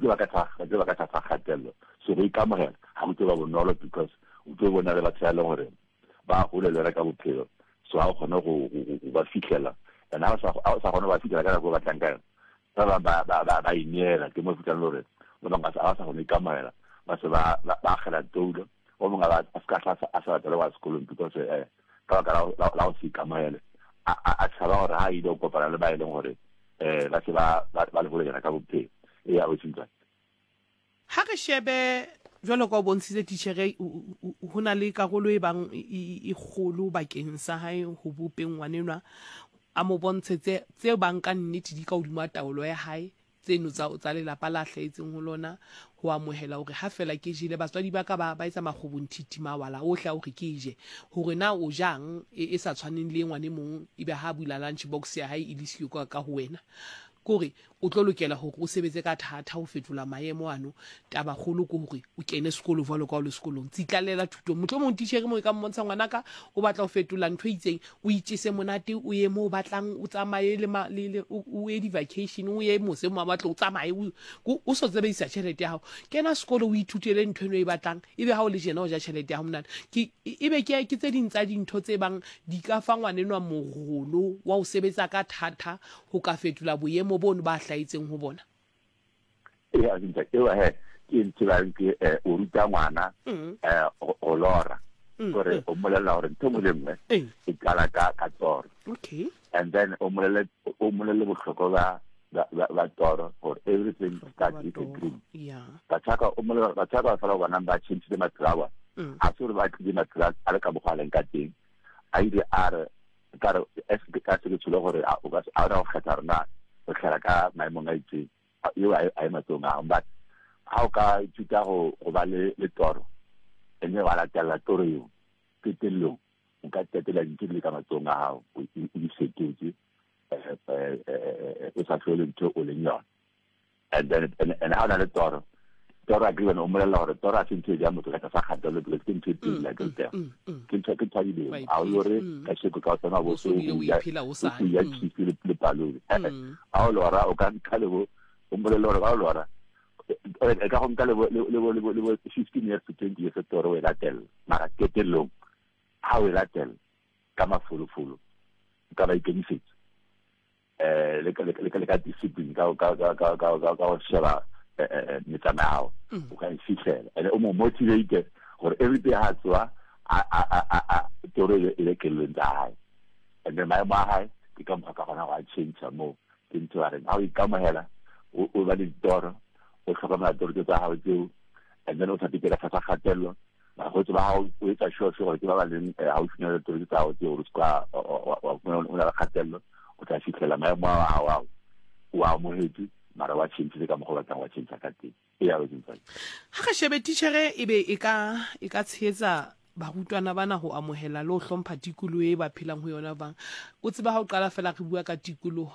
tlo ba ka tlasa, ba tlo ba ka tlasa kgatello. So go ikamogela ga go tlo ba bonolo because o tlo bona le batho ba e leng gore ba hole le wena ka bophelo, so ga o kgone go, go, go, go ba fihlela. And ha o sa, ha o sa kgone go ba fihlela ka nako e o batlang ka yona, ba bang ba, ba, ba, ba ineela. Ke mo o fihlang le gore ba bangwe ga ba sa kgone go ikamogela, ba se ba, ba, ba akgela toulo. O mongwe a ba, a se ka hla a sa rata le go ya sekolong because eh, ka baka la, la, la go se ikamogele. A, a, a tshaba gore ha a ile go kopana le ba e leng gore eh, ba se ba, ba, ba le holenyana ka bophelo. Eya, o Sintwane. Ha re shebe, jwalo ka o bontshitse titjhere, ho na le karolo e bang e kgolo bakeng sa hae ho bopeng ngwanenwa, a mo bontshe tse, tse bang ka nnete di ka hodima taolo ya hae, tseno tsa, tsa lelapa la hlahetseng ho lona, ho amohela hore ha feela ke jele, batswadi ba ka ba, ba etsa makgobonthiti mawala ohle a hore ke je. Hore na o jang e, e sa tshwaneng le e ngwana e mong, ebe ha a bula lunch box ya hae e le siyo ka, ka ho wena. Ke hore o tlo lokela hore o sebetse ka thata ho fetola maemo ano. Taba kgolo ke hore o kene sekolo jwalo ka o le sekolong. Tsitlallela thutong. Mohlomong titjhere moo e ka mmontsha ngwanaka o batla ho fetola ntho e itseng, o itjese monate, o ye moo o batlang, o tsamaye le ma, le, le, o, o ye di-vacation, o ye mose mo batla o tsamaye, o, o so sebedisa tjhelete ya hao. Kena sekolo o ithutele ntho eno e batlang, ebe ha o le jena o ja tjhelete ya hao monate. Ke, ebe ke, ke tse ding tsa dintho tse bang di ka fa ngwanenwa morolo wa ho sebetsa ka thata ho ka fetola boemo bono ba hlahetseng ho bona? Ea ntate eo he ke ntho ba ke eh, o ruta ngwana mm. eh, go lora mm, gore mm. o mmolelela gore ntho nngwe le nngwe e qala ka ka toro. Okay. And then o mmolele o mmolele bohlokwa ba ba toro gore everything starts with a dream. Yeah. Batho ka o mmolelela batho ka fela bona ba changile maphelo a bona. A se gore ba tlile maphelo a le ka mokgwa a leng ka teng. A ile a re ka re ka se ke tsholo gore a o ka a o kgetha rena o tlhela ka maemong a itseng eo a e matsong a but ha o ka ithuta go go ba le le toro ene wa latella toro eo qetellong o ka qetela dintho di le ka matsong a gago o di fetotse eh, eh, eh, o sa tlhole ntho o leng yone. And then and ha o na le toro, toro a kile o mmolelela gore toro a se ntho e jang motho ka tlasa kgatelelo because ke ntho e pele like mm, mm, mm, ke ntho ke ntho ya dilemo a o yore ka sheko ka o tsena bo so o ya cheese le le palone a o lora o ka nka le bo o mmolelela gore ba o lora e ka go nka le bo le bo le bo le bo 15 years to 20 years toro o e latella mara qetellong ha o e latella ka mafolofolo ka ba ikemisetso eh le ka le ka le ka discipline ka ka ka ka ka ka ka go sheba eh, eh, eh, metsamao mm. o ka e fihlela and o mo motivate gore every day ha tsoa a a a a toro e le kelellong tsa hae and then maemo a hae ke ka mokgwa ka gona go a change mo ke ntho a reng ha o ikamohela o ba le ditoro o tlhokomela toro tsa gago tseo and then o sa pikela tlasa kgatelelo Bakgotsi ba gago o etsa sure sure gore ke ba ba leng eh, gaufinyana le toro tsa gago tse gore o seka wa fumana o na le kgatelelo o tla fitlhela maemo a gago ao o a amogetse mara wa changile ka mokgwa o batlang wa change ka teng e ya o. Ha re shebe titjhere e be e ka e ka tshehetsa barutwana bana ho amohela le ho hlompha tikoloho e ba phelang ho yona bang. O tseba ha o qala fela re bua ka tikoloho,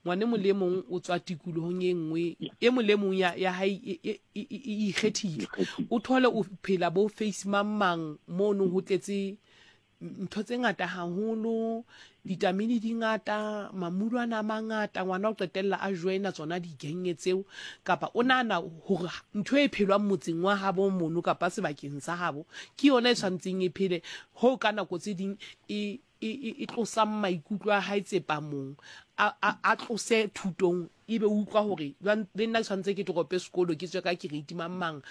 ngwana e mong le e mong o tswa tikolohong e nngwe, e mong le e mong ya, ya hae e, e, e, e, e ikgethile. O thole o phela bo face mang mang mono ho tletse ntho tse ngata haholo, ditamini di ngata, mamulwana a mangata, ngwana o qetella a joina tsona digenge tseo, kapa o nahana hore ntho e phelwang motseng wa habo mono kapa sebakeng sa habo ke yona e tshwantseng e phele, hoo ka nako tse ding e e, e, e tlosang maikutlo a hae tsepamong, a, a, a tlose thutong, ebe o utlwa hore le nna ke tshwanetse ke torope sekolo, ke tswe ka kereiti mang mang.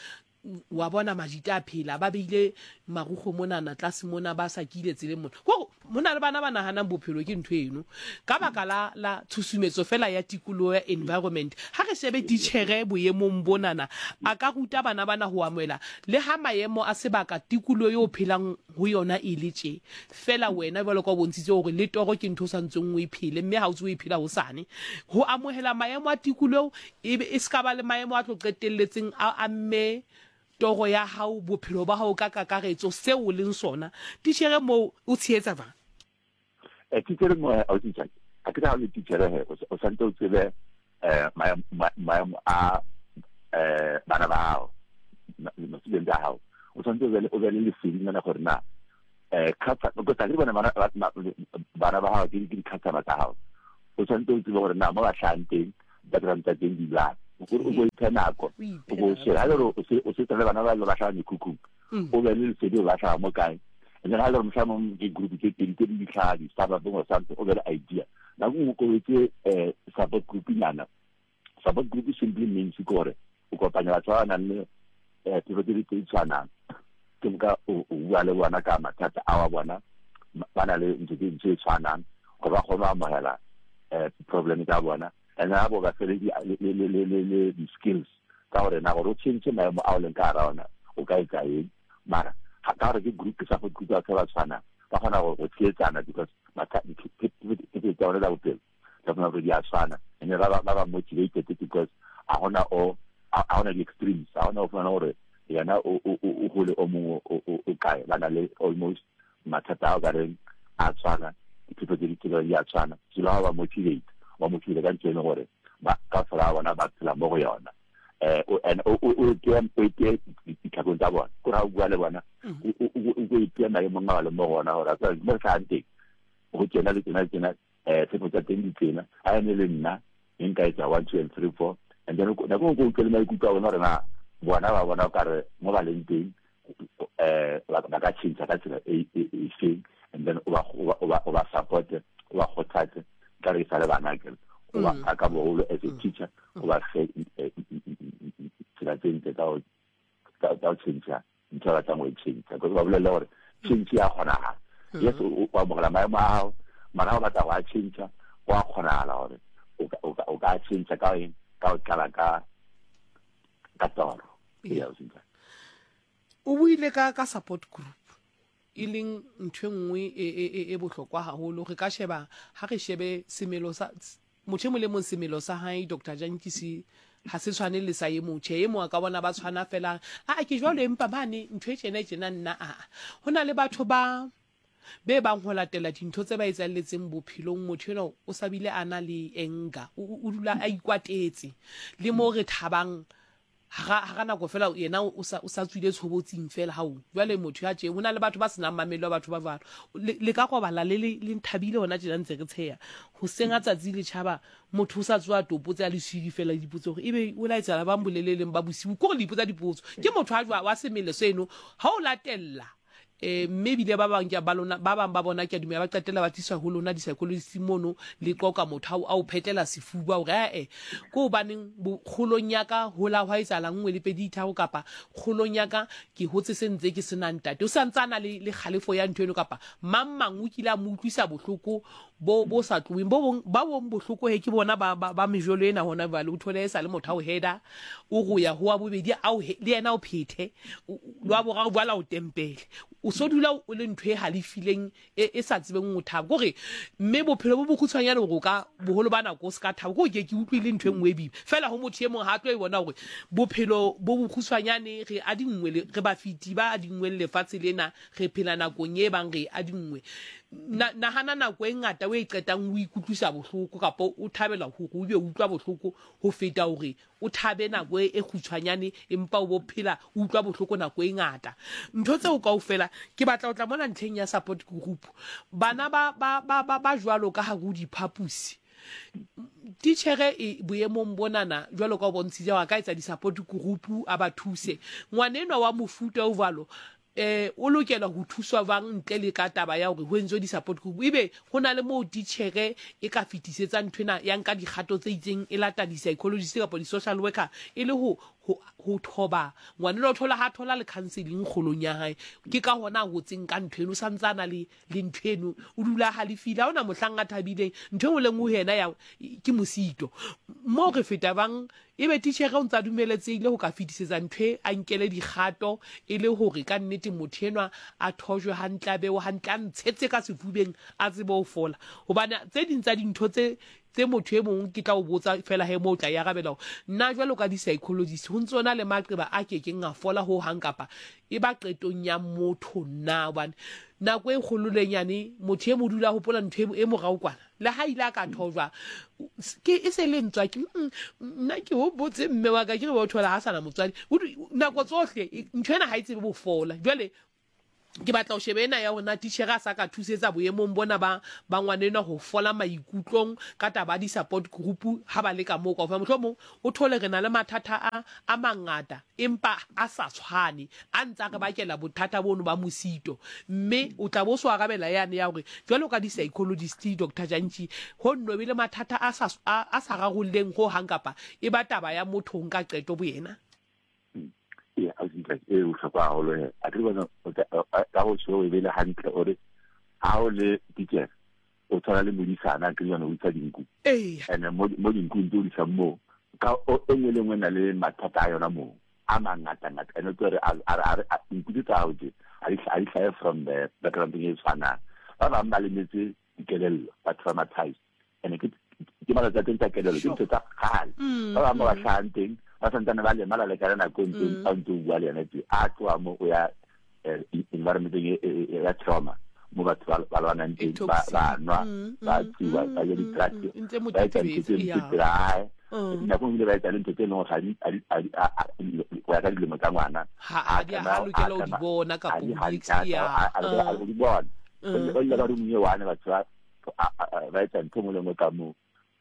Wa bona majita a phela, ba beile marukgwe monana tlase mona, ba sa kile tseleng mona. Kore ho na le bana ba nahanang bophelo ke ntho eno ka baka la, la tshusumetso fela ya tikoloho ya environment. Ha re shebe titjhere boemong bonana, a ka ruta bana bana ho amohela le ha maemo a sebaka, tikoloho eo o phelang ho yona e le tje. Feela wena jwalo ka o bontshitse hore le toro ke ntho o sa ntseng o e phele, mme ha o tse o e phela hosane. Ho amohela maemo a tikoloho E be e se ka ba le maemo a tlo qetelletseng a amme toro ya hao, bophelo ba hao ka kakaretso, seo o leng sona. Titjhere moo o tshehetsa jwang? Eh, titjhere moo, ausi Jackie, ha ke re ha o le titjhere he, o santse o tsebe eh, maemo a eh, bana ba hao, ma-student a hao, o tshwanetse o be le lesedinyana gore na eh, because ha ke re bona bana ba hao ke di-customer tsa hao, o tshwanetse o tsebe gore na mo ba hlahang teng background tsa teng di jwang. O ko iphe nako, o ko shebe. Ha e le gore o sebetsa le bana ba le ba hlaha mekhukhung, o be le lesedi gore ba hlaha mo kae. And then ha e le gore mohlomong ke group tse pedi tse di hlaha di-suburbeng or something, o be le idea. Nako nngwe o etse support group nyana. Support group simply means ke gore o kopanya batho ba ba nang le pelo tse di tshwanang. Ke moka o bua le bona ka mathata a wa bona, ba na le ntho tse tshwanang gore ba kgone go amogela problem tsa bona. And ha bo ba fele le di-skills tsa gore na gore o change maemo a o leng ka gara ona o ka etsa eng. Mara ka gore ke group support group batho ba ba tshwanang ba kgona go tsietsana because tsa bona tsa bophelo tsa bona gore di a tshwana. And ba ba motivated because a gona o a gona di-extremes, a gona o fumana gore yena o gole o mongwe o kae, ba na le almost mathata a o ka reng a tshwana, diphepho tse di tsela di a tshwana. So ba ba motivate, ba motivate ka ntho e leng gore ba ka fela bona ba phela mo go yona. And o ipeye ditlhakong tsa bona, kore ha o bua le bona o ipeye maemong a ba leng mo go ona, gore a tseba mo re tlhahang teng go tjena le tjena le tjena, tshepo tsa teng di tsena, ha ene le nna e nka etsa 1 2 and 3 4. And then nako nngwe o utlwe le maikutlo a bona gore na bona ba bona o kare mo ba leng teng ba ka change ka tsela e e feng. And then o ba support, o ba kgothatse, ka re sa le bana ke o ba ka boholo as a teacher, o ba fe tsela tse ntle tsa go change ntho ba batlang go e change, because ba bolelle gore change ya kgonagala. Yes, o amogela maemo a gago, mara ha o batla go a change, go a kgonagala gore o ka change ka eng, ka o tlala ka toro. O buile ka support group, e leng ntho e nngwe e bohlokwa haholo. Re ka sheba, ha re shebe semelo sa motho e mong le mong, semelo sa hae Doctor Jantjies ha se tshwane le sa e mong. Tjhe, e mong a ka bona ba tshwana fela, a ke jwalo, empa mane ntho e tjena e tjena nna a. Ho na le batho ba be bang ho latela dintho tse ba etsahelletseng bophelong, motho enwa o sa bile a na le anger, o dula a ikwatetse. Le mo re thabang hara nako fela yena o sa tswile tshobotsing fela hao. Jwale motho ya tje, ho na le batho ba senang mamello, batho ba jwalo. Le ka robala le le nthabile hona tjena ntse re tsheya. Hoseng ha tsatsi le tjhaba, motho o sa tsoha topotse a le siile fela le dipotso hore ebe o la etsahala bang boleleleng ba bosiu. Ke hore le ipotsa dipotso. Ke motho a jwa wa semelo seno, ha o latella mme ebile ba bang ba lona, ba bang ba bona ke a dumela ba qetella ba tliswa ho lona di-psychologist mono, le qoqa motho a o phetlela sefuba hore ae ke hobaneng kgolong ya ka hola hwa etsahala nngwe le pedi tharo, kapa kgolong ya ka ke hotse se ntse ke sena ntate. O sa ntse a na le kgalefo ya ntho eno, kapa mang mang o kile a mo utlwisa bohloko bo sa tloheng. Bo bong ba bong bohloko he ke bona ba mejolo ena hona jwale, o thole e sa le motho a o header, o go ya ho wa bobedi a o le yena o phethe, le wa boraro jwale a o tempele, o so dula o le ntho e halefileng e sa tsebeng ho thaba. Kore mme bophelo bo bokgutshwanyane hore o ka boholo ba nako o se ka thaba, kore ke ke utlwile ntho e nngwe e boima fela ho motho e mong ha tlo e bona hore bophelo bo bokgutshwanyane, re adinngwe, re bafeti ba adinngweng lefatshe lena, re phela nakong e bang re adinngwe. Nahana nako e ngata o e qetang o ikutlwisa bohloko, kapa o thabela hore o be o utlwa bohloko ho feta hore o thabe nako e kgutshwanyane empa o bo phela o utlwa bohloko nako e ngata. Ntho tseo kaofela ke batla ho tla mona ntlheng ya support group. Bana ba jwalo ka hare ho diphaposi, titjhere e boemong bonana jwalo ka o bontshitse hore a ka etsa di-support group a ba thuse. Ngwana enwa wa mofuta o jwalo, o lokela ho thuswa jwang ntle le ka taba ya hore ho entswe di-support group? Ebe ho na le moo titjhere e ka fetisetsang ntho ena, ya nka dikgato tse itseng, e lata di-psychologist kapa di-social worker e le ho thoba ngwana enwa? O thola ha thola le counseling kgolong ya hae, ke ka hona a hotseng ka ntho eno, o sa ntse a na le ntho eno, o dula a halefile, ha hona mohlang a thabileng, ntho e nngwe le nngwe ho yena ya ke mosito. Moo re feta bang, ebe titjhere o ntse a dumeletsehile ho ka fetisetsa ntho e, a nkele dikgato e le hore ka nnete motho enwa a thojwe hantle, a bewe hantle, a ntshetse ka sefubeng, a tsebe ho fola. Hobane tse ding tsa dintho tse tse motho e mong ke tla o botsa fela he moo o tla e arabela hore nna jwalo ka di-psychologist ho ntse ho na le maqeba a ke keng a fola ho hang, kapa e ba qetong ya motho na? Hobane nako e kgolo le nyane motho e mo dula a hopola ntho e morao kwana, le ha ile a ka thojwa ke e se le ntswa ke nna ke hopotse mme wa ka, ke re o thola ha sana motswadi nako tsohle, ntho ena ha e tsebe bofola. Jwale Ke batla ho sheba ena ya hore na titjhere a sa ka thusetsa boemong bona ba ba ngwana enwa ho fola maikutlong ka taba ya di-support group ha ba le ka moo kaofela. Mohlomong o thole re na le mathata a a mangata empa a sa tshwane, a ntse a re bakela bothata bono ba mosito. Mme o tla bo o so arabela yane ya hore jwalo ka di-psychologist Doctor Jantjie, ho nno be le mathata a sa a a sa rarolleng hohang kapa e ba taba ya motho ho nka qeto boyena. Ee, ausi Ntate, e bohlokwa haholo he. A ke bona ka go tjho e bele hantle o re ha o le teacher o tshwana le modisana ke jone o isa dinku. Ene mo mo dinkung tse o di isang moo ka e nngwe le nngwe e na le mathata a yona moo a mangata ngata ene tlo re a re dinku tse tsa hao tse a di hlahe from the background e tshwanang. Ba bang ba lemetse dikelello ba traumatized ene ke ke malatsi a teng tsa kelelo ke ntho tsa kgale mm, ba bangwe ba ba mm. tlhagang teng ba santsane ba lemala le kana nako e ntseng mm. a ntse o bua le yone tse a tloa mo o ya eh, environmenteng e, e, e, ya trauma mo batho ba lwanang teng ba nwa ba tsuba ba ja di-drugs ba etsa ntho tse mpe pela hae nako ebile ba etsa le ntho tse e leng gore go ya ka dilemo tsa ngwana ga di lokela go di bona kapa go di bona o ile ka roomong e one batho ba ba etsa ntho nngwe le nngwe ka moo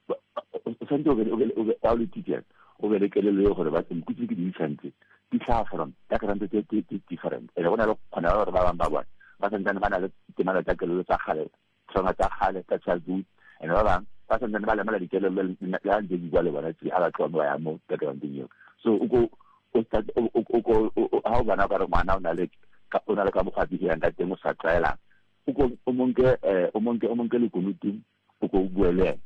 o tshwanetse o le teacher o be le kelello eo gore ba nku tse ke di isang tse di tlhaga from background tse tse different ene go na le kgona gore ba bangwe ba bone ba santsane ba na le temana tsa kelello tsa kgale trauma tsa kgale tsa childhood and ba bangwe ba santsane ba lemala dikelello le ha ntse di bua le bona tse ha ba tloha mo ba ya mo backgroundeng eo so o ko o start o ko ha o bona ka re ngwana o na le o na le ka mokgwa a behang ka teng o sa tlwaelang o ko o monke eh o monke o monke lekunutu o ko o bue le ena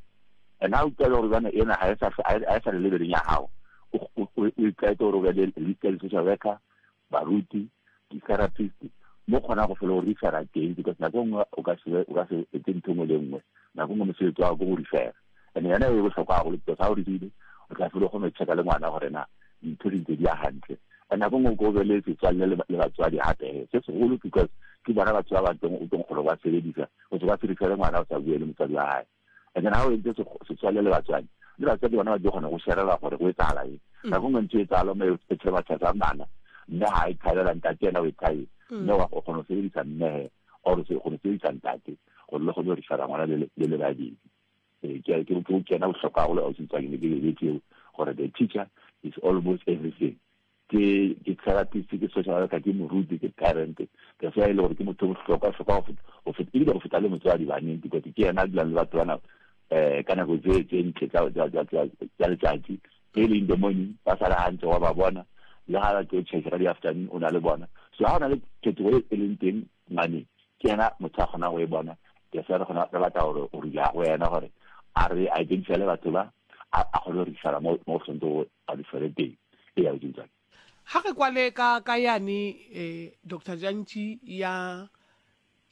and ha utlwa gore jane ena ha e sa ha e sa le lebeleng ya hao o o itlwaetse gore o be le list ya di-social worker baruti di-therapist mo kgona go fela go refera teng because nako nngwe o ka se o ka se etse ntho nngwe le nngwe nako nngwe mosebetsi wa gago ke go refera and yona e bohlokwa haholo because ha o refile o tla fela o kgone go checka le ngwana gore na dintho di ntse di ya hantle and nako nngwe o ko be le setswalle le batswadi hape se segolo because ke bona batho ba ba teng o teng gore ba sebedisa o se ba se ngwana o sa bue le motswadi wa hae and then ha o entse setswalle le batswadi le batswadi bona ba tlo kgona go sherela gore go etsahala eng mm. nako nngwe ntho e etsahalo mo e traumatisa bana mme ha e thabela ntate ena o e thabetse mm. mme wa kgona go sebedisa mmehe or o kgona go sebedisa ntate gore le kgone go refera ngwana le le babedi Ee, ke ke ke kena bohlokwa haholo ausi Ntswaki ne ke lebetse eo gore the teacher is almost everything ke ke therapist ke social worker ke moruti ke parent ke fa e le gore ke motho bohlokwa hlokwa go feta go feta ebile go feta le motswadi baneng because ke yena a dulang le batho bana eh ka nako tse tse ntle tsa tsa tsa tsa tsa letsatsi early in the morning ba sala hantle wa ba bona le ga ba tlo church ka di-afternoon o na le bona so ha o na le phetogo e leng teng ngwaneng ke yena motho a kgonang go e bona ke se re kgona re batla gore o rula go yena gore a re identify batho ba a kgone go referra mo mo tshwanetse go a referre teng e ya botseng ha re kwale ka ka yane eh Dr Jantji ya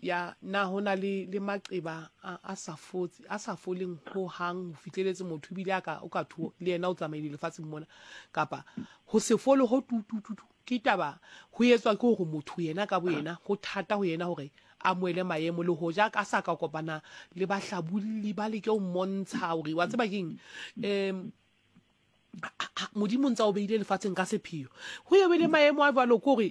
ya na ho na le le maqeba a, a sa fotse a sa foleng ho hang ho fihleletse motho ebile a ka o ka thuo le yena o tsamaile lefatsheng mona kapa ho se fole ho tu tu tu Ke taba ho etswa ke hore motho yena ka boyena ho thata ho yena hore a amohele maemo le hoja a sa ka kopana le bahlabolli ba leke ho mmontsha hore wa tseba keng um Modimo ntsa o beile lefatsheng ka sepheo ho ye be le maemo a jwalo ke hore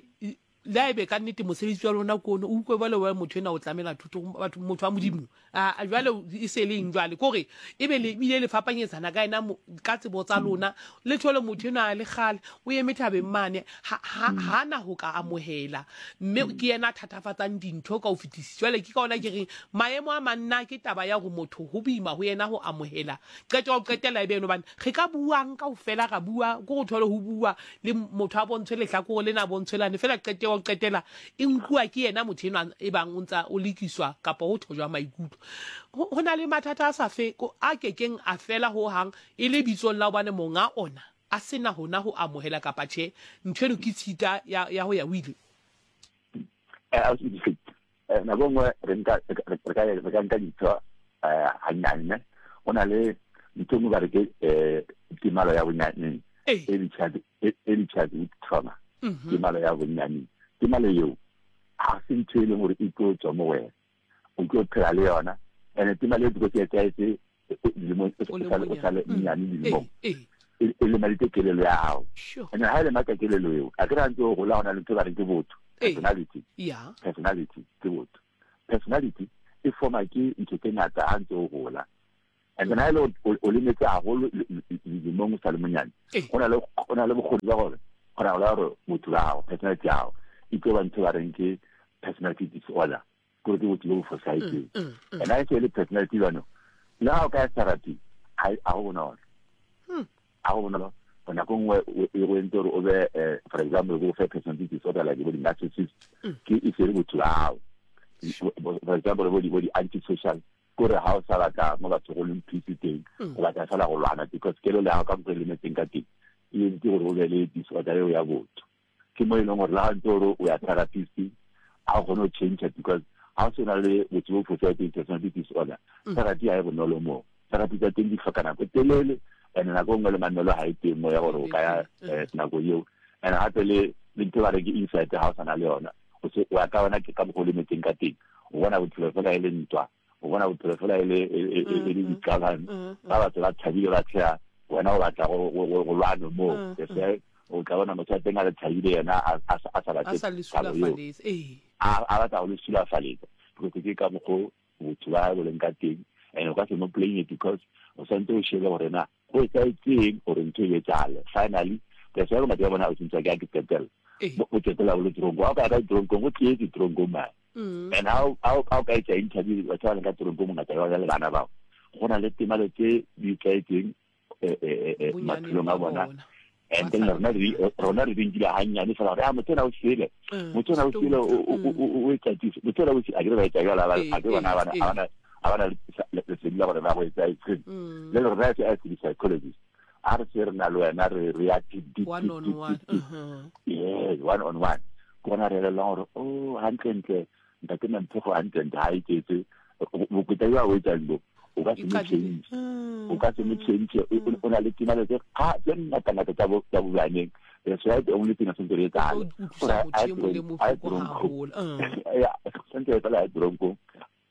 le a ebe ka nnete mosebetsi wa lona ke ono o utlwe jwale wa motho ena o tlamela thuto batho motho wa Modimo a jwale e se leng jwale kore e be le bile le fapanyetsana ka ena ka tsebo tsa lona le thole motho enwa a le kgale o eme thabeng mane ha na ho ka amohela mme ke yena a thatafatsang dintho ka ho fetisisa jwale ke ka ona ke reng maemo a manna ke taba ya hore motho ho boima ho yena ho amohela qeto ya ho qetela e be eno bane re ka buang kaofela ra bua ko go thole ho bua le motho a bontshwe lehlakore lena a bontshwe lane fela qeto ya ho qetela e nkuwa ke yena motho enwa e bang o ntsa o lekiswa kapa ho thojwa maikutlo. Ho na le mathata a sa fe, a kekeng a fela ho hang e le bitsong la hobane monga ona a se na hona ho amohela kapa tjhe, ntho eno ke tshita ya, ya ho ya ho ile. Eh, nako nngwe re nka re ka re ka nka dintho eh hannyane ne o na le ntho nngwe ba re ke eh temalo ya bonyaneng early childhood trauma mhm. temalo ya bonyaneng temalo eo ga se ntho e leng gore e tlo tswa mo wena o tlo phela le yona and temalo eo because e etsahetse dilemong o sale mm. nnyane dilemong e lemaditse kelelo ya gago and ga e lematsa kelelo eo a ke re a ntse o gola go na le ntho ba reng ke botho Personality. Personality ke botho. Personality e forma ke ntho tse ngata ha ntse o hola. And then ha ile o lemetse haholo dilemong o sa le monyane, o na le o na le bokgoni ba gore kgona go la gore botho ba gago, personality ya gago e tlo ba ntho ba reng ke personality disorder, kore ke botho bo bo fosahetseng. And ha e se e le personality jwanong, le ha o ka ya therapy, ha go bonolo. Ha go bonolo nako nngwe e go entse gore o be, for example, go fe personality disorder like bo di-narcissist, ke e se le botho ba gago. For example, bo di-antisocial, kore ha o sa batla mo batho go leng peace teng, o batla fela go lwana because kelo le gago ka mokgwa e lemetseng ka teng e entse gore o be le disorder eo ya botho. Ke mo e leng gore le ga ntse gore o ya therapist, ga o kgone go change because ga o se na le botho bo fosahetseng, personality disorder, therapy ga e bonolo moo. Therapy tsa teng di hloka nako e telele, and nako e nngwe le mamello ga e teng mo ya gore o ka ya nako eo. And gape le ntho ba re ke insight, ga o sa na le yona, o se o ya ka yona ke ka mokgwa o lemetseng ka teng, o bona bophelo fela e le ntwa, o bona bophelo fela e le diqabang, ba batho ba thabile ba tsheha, wena o batla go lwane moo. Se o tla bona motho wa teng a le thabile, yena a sa batle thabo eo, a batla go le sulafaletsa because ke ka mokgwa botho ba bo leng ka teng. And o ka se mo blame because o santse o shebe gore na go etsahetseng gore ntho e etsahale. Finally, that's why bongata ba bona o sentse ke a ke qetella bo qetella bo le toronkong. Ha o ka ya ka toronkong, go tletse toronkong mane. And ha o ka etsa interview batho ba leng ka toronkong, bongata ba bona le bana bao, go na le temalo tse di tlwaetseng maphelong a bona. And then rona re di nkile hannyane fela gore a motho ona o sele, motho ona o sele, o etsatise motho ona o sele, a ke re ba etsa jalo, a ke bona a bana lesedi la gore ba go etsa etseng. Le rona as di-psychologist, a re se re na le wena re ya deep deep, one on one, yes, one on one, ke gona re elelwang gore o hantlentle ntate Mamphego hantlentle ha iketse bokweta jo a o etsang bo, o ka se mo change, o ka se mo change, o na le timalo tse ga tse ngata-ngata tsa bobaneng. That's why the only thing a sentse re etsahale sentse re etsahale a toronkong,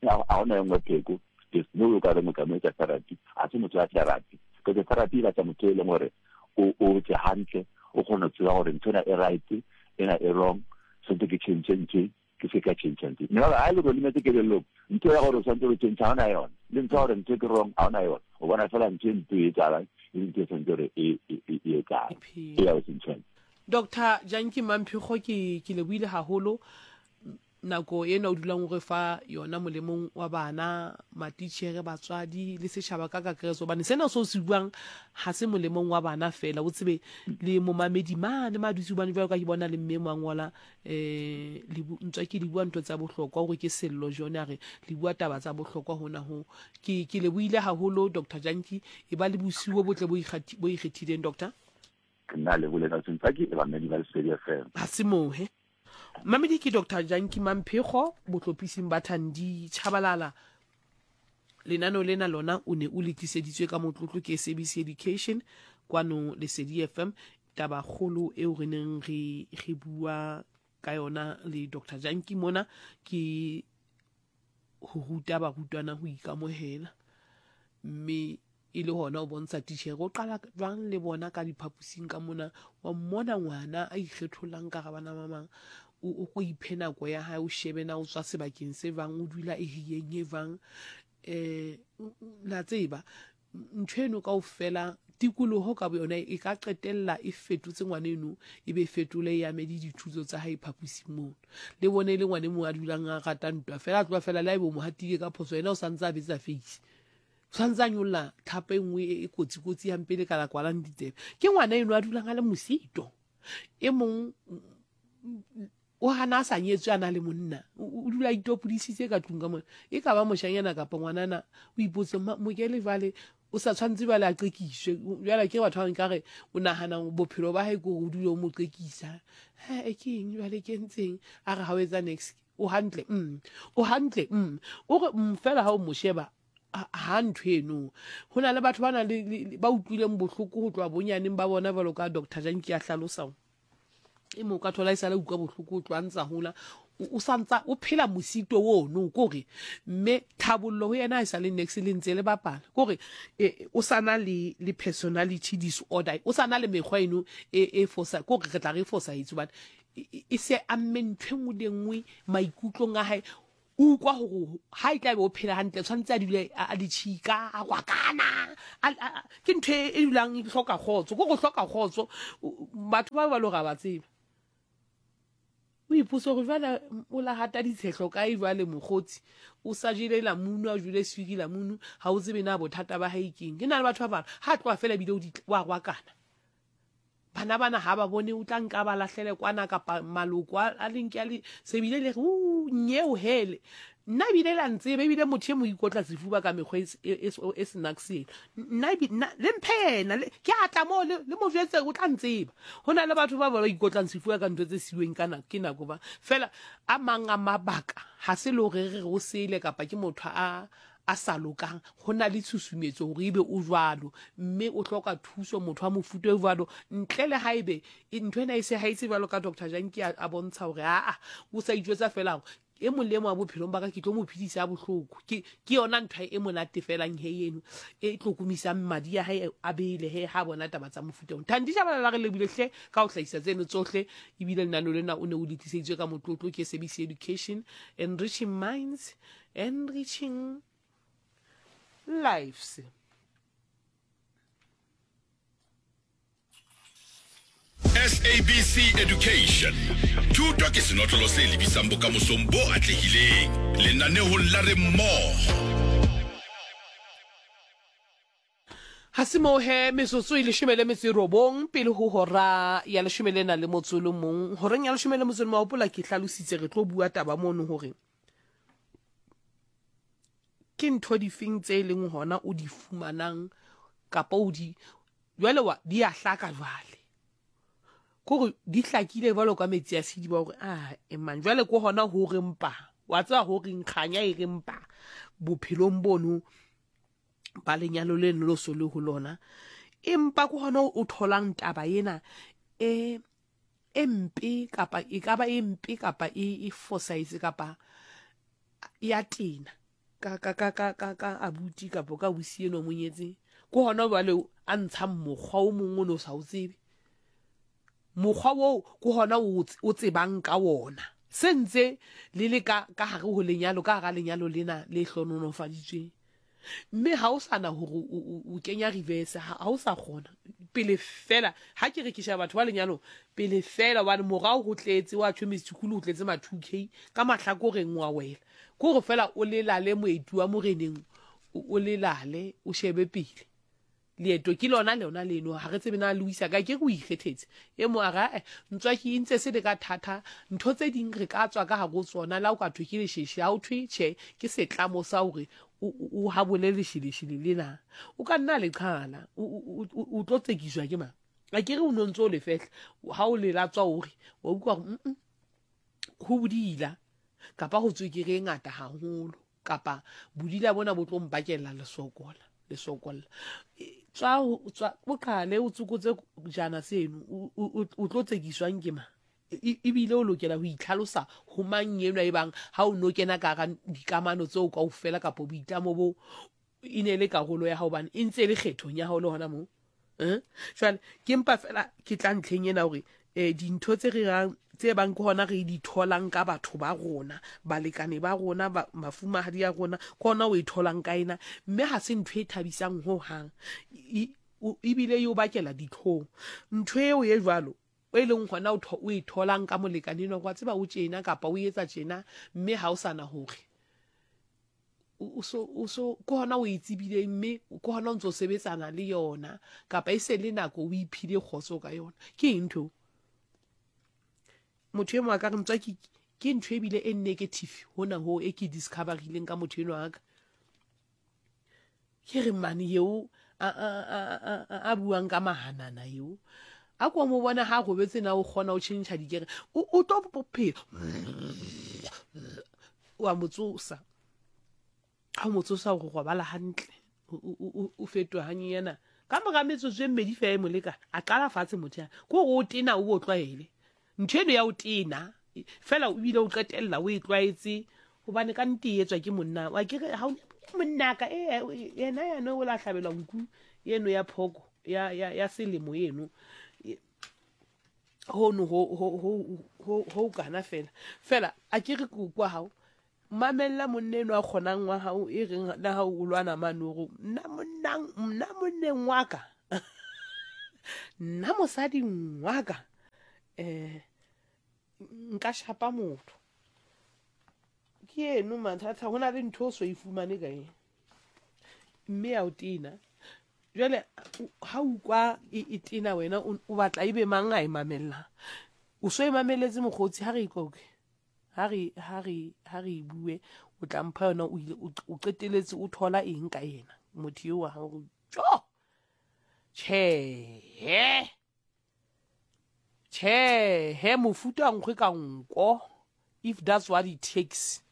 ga gona e nngwe pheko. There's no way o ka re motho a mo etsa therapy, ga se motho wa therapy, because therapy e batla motho e leng gore o tse hantle, o kgone go tseba gore ntho ena e right, ena e wrong, sentse ke change ntho, ke se ka change ntho. Mme ga e le gore lemetse kelellong, ntho ya gore o tshwanetse go change ga ona yone, le ntho ya gore ntho ke wrong ga ona yone, o bona fela ntho e mpe e etsahalang, e le ntho e tshwanetse gore e etsahale, e ya o sentšhang. Doctor Janki Mamphego, ke lebohile haholo nako ena o dulang o re fa yona molemong wa bana, matitjhere, batswadi le setjhaba ka kakaretso, hobane sena seo se buang ha se molemong wa bana fela, o tsebe le momamedi mane ma dutse, hobane jwalo ka ke bona le mme mo a ngola, ntswa ke le bua ntho tsa bohlokwa hore ke sello jone, a re le bua taba tsa bohlokwa hona ho. Ke lebohile haholo Doctor Janki, e ba le bosiu bo botle bo ikgethileng Doctor. Ke nna lebohile ka Ntswaki le bamamedi ba Lesedi FM. Ha se mohe. Mamedi ke Doctor Janki Mamphego bohlophising ba Thandi Tshabalala. Lenaneo lena lona o ne o le tliseditswe ka motlotlo ke SABC Education kwano Lesedi FM. Taba kgolo eo re neng re re bua ka yona le Doctor Janki mona ke ho ruta barutwana ho ikamohela, mme e le hona o bontsha titjhere o qala jwang le bona ka diphaposing ka mona, wa mmona ngwana a ikgethollang ka bana ba bang, o ko iphe nako ya hae, o shebe na o tswa sebakeng se jwang, o dula eriyeng e jwang. La tseba ntho eno kaofela, tikoloho ka boyona e ka qetella e fetotse ngwana eno, e be fetole e ame le dithuto tsa hae phaposing mono. Le bone e le ngwana e mong a dulang a rata ntwa fela, a tloha fela le ha ebe o mo hatile ka phoso, yena o santse a betsa face, o santse a nyolla thapo e nngwe e kotsi-kotsi hampe le ka la kwalang ditsebe. Ke ngwana eno a dulang a le mosito. E mong o hana a sa nyetswe a na le monna, o dula a itopodisitse ka tlung ka mona, e ka ba moshanyana kapa ngwanana, o ipotse mokele jwale o sa tshwanetse jwale a qekiswe jwale ke batho ba nkare o nahana bophelo ba hae ke hore o dule o mo qekisa. He, ke eng jwale ke entseng? A re ha o etsa next o hantle, o hantle, o re fela ha o mo sheba ha ntho eno. Ho na le batho ba nang le ba utlwileng bohloko ho tloha bonyaneng ba bona, jwalo ka Doctor Janki a hlalosa. E mong ka thola e sale utlwa bohloko ho tloha ntsa hola. O sa ntsa o phela mosito ono, kore mme thabollo ho yena ha e sa le nex le ntse le bapala, kore e, o sa na le le personality disorder, o sa na le mekgwa eno e e fosa, kore re tla re e fosahetse hobane e, e se amme ntho e nngwe le nngwe maikutlong a hae. O ukwa gore ha e tla be o phela hantle tshwanetse a dule a le tšhika, a kwakana, ke ntho e, e dulang e hloka kgotso, ko go hloka kgotso. Batho ba ba le gore a ba tseba. O ipotsa gore jwale o la hata ditshehlo kae jwale mokgotsi, o sa jele lamunu, a jele swiri lamunu, ha o tsebe na bothata ba hae keng. Ke na le batho ba bang ha tloha fela ebile o wa rwakana. Bana bana ha ba bone o tla nka ba lahlele kwana kapa maloko a le nke a le se bile le re u nyeo hele. Nna ebile la ntseba ebile motho e mo ikotla sefuba ka mekgwa e, e, e, e senakseng. Nna nna le mphe yena ke a tla moo le mo jwetse o tla ntseba. Ho na le batho ba ba ikotlang sefuba ka ntho tse siweng ka nako ke nako ba. Fela a mang a mabaka ha se le hore re re o sele kapa ke motho a a sa lokang, ho na le tshusumetso hore ebe o jwalo mme o hloka thuso motho wa mofuta o jwalo, ntle le haebe ntho ena e se haetse jwalo ka Doctor Janki a bontsha hore aa o sa ijwetsa fela hore e mong le e mong wa bophelong ba ka ke tlo mo phedisa bohloko. Ke ke yona ntho e monate felang he eno e tlo komisang madi a hae a bele he ha bona taba tsa mofuta ona. Thandi Shabalala, re lebile hle ka ho hlahisa tseno tsohle, ebile lenaneo lena o ne o le tliseditswe ka motlotlo ke SABC Education, enriching minds, enriching lives. SABC Education. Thuto ke senotlolo se lebisang bokamosong bo atlehileng. Lenanehong la Re Mmogo. Ha se moo he, metsotso e leshome le metso e robong pele ho hora ya leshome le nang le motso o le mong. Horeng ya leshome le motso o le mong, wa hopola ke hlalositse re tlo bua taba mono hore ke ntho difeng tse e leng hona o di fumanang kapa o di jwale wa di a hlaka jwale kore di hlakile jwalo ka metsi a sediba gore a emang jwale ko hona ho re mpa wa tseba ho reng kganya e re mpa bophelong bono ba lenyalo leno lo so le ho lona empa ko hona o tholang taba ena e e mpe kapa e ka ba e mpe kapa e e fosahetse kapa ya tena ka ka ka ka ka ka abuti kapa ka ausi eno mo nyetseng ke hona jwale a ntshang mokgwa o mongwe o ne o sa o tsebe mokgwa oo ke hona o tsebang ka wona se ntse le le ka ka hare ho lenyalo ka hara lenyalo lena le hlonolofaditsweng Mme ha o sa na hore o kenya reverse, ha o sa kgona. Pele fela, ha ke re ke sheba batho ba lenyalong, pele fela hobane morao ho tletse, wa tjho Mr. Khulu ho tletse ma 2K, ka mahlakoreng wa wela. Ke hore fela o lelale moeti wa moreneng, o lelale, o shebe pele. Leeto ke lona lona leno, ha re tsebe na le o isa kae, ke re o ikgethetse. E mong a re, ae, ntswaki e ntse se le ka thata, ntho tse ding re ka tswa ka hare ho tsona, le ha o ka thwe ke lesheshe, ha ho thwe tjhe, ke setlamo sa hore o, o, o habole lesheleshele lena. O ka nna le qhala, o, o, o, o tlo tsekiswa ke mang? A ke re o no ntse o le fehla, ha o le latswa o re, wa utlwa hore, mm, ho bodila, kapa ho tswekere e ngata haholo. Kapa bodila bona bo tlo mpakela lesokola, lesokolla. E, tswa, tswa, o qale o tsokotse jana seno, o, o, o tlo tsekiswang ke mang? E, ebile o lokela ho itlhalosa ho mang enwa e bang ha o no kena ka hara dikamano tseo kaofela kapa boitlamo bo e ne e le karolo ya hao hobane e ntse e le kgethong ya hao le hona moo. Eh? Jwale ke mpa fela ke tla ntlheng ena hore eh, dintho tse re rang tse bang ke hona re di tholang ka batho ba rona, balekane ba rona, ba, mafumahadi a rona, ke hona o e tholang ka ena, mme ha se ntho e thabisang ho hang. Ebile e o bakela ditlhong. Ntho eo e jwalo e leng hona o e tholang ka molekane enwa, wa tseba o tjena kapa o etsa tjena, mme ha o sa na hore o so o so ke hona o e tsebileng mme ke hona o ntse o sebetsana le yona kapa e se le nako o iphile kgotso ka yona. Ke eng ntho motho e mongwe a ka re ntswa ke ke ntho ebile e negative hona ho e ke discoverileng ka motho enwa ka ke re mane eo a buang ka mahanana eo a ko mo bona ha robetse na o kgona o tšhentšha dikere o tlo phela wa mo tsosa ha o mo tsosa gore robala hantle o fetoha hanyenyana ka mora metsotso e mmedi fela e molekane a qala fatshe motho ya ke gore o tena o bo tlwaele ntho eno ya o tena. Fela o bile o qetella o e tlwaetse gobane ka nnete e etswa ke monna wa ke re ga o monnaka e yena yane o la hlabelwa nku eno ya phoko ya, ya, ya selemo eno hono ho ho ho ho ho kana fela fela a ke re kwa gago mamella monna eno a kgonang wa gago e reng le ga o lwana mane ore nna monnang nna monneng wa ka nna mosading wa ka um nka shapa motho ke eno mathata go na le ntho o so e fumane ka eng mme ya o tena jale ha o kwa e, e tena wena o batla e be mang a e mamellang o so e mameletse mokgotsi ha re ikoke ha re ha re ha re e bue o tla mpha yona o ile o qeteletse o thola eng ka yena motho eo wa gago jo tjhe tjhe he mofuta nkgwe ka nko if that's what it takes.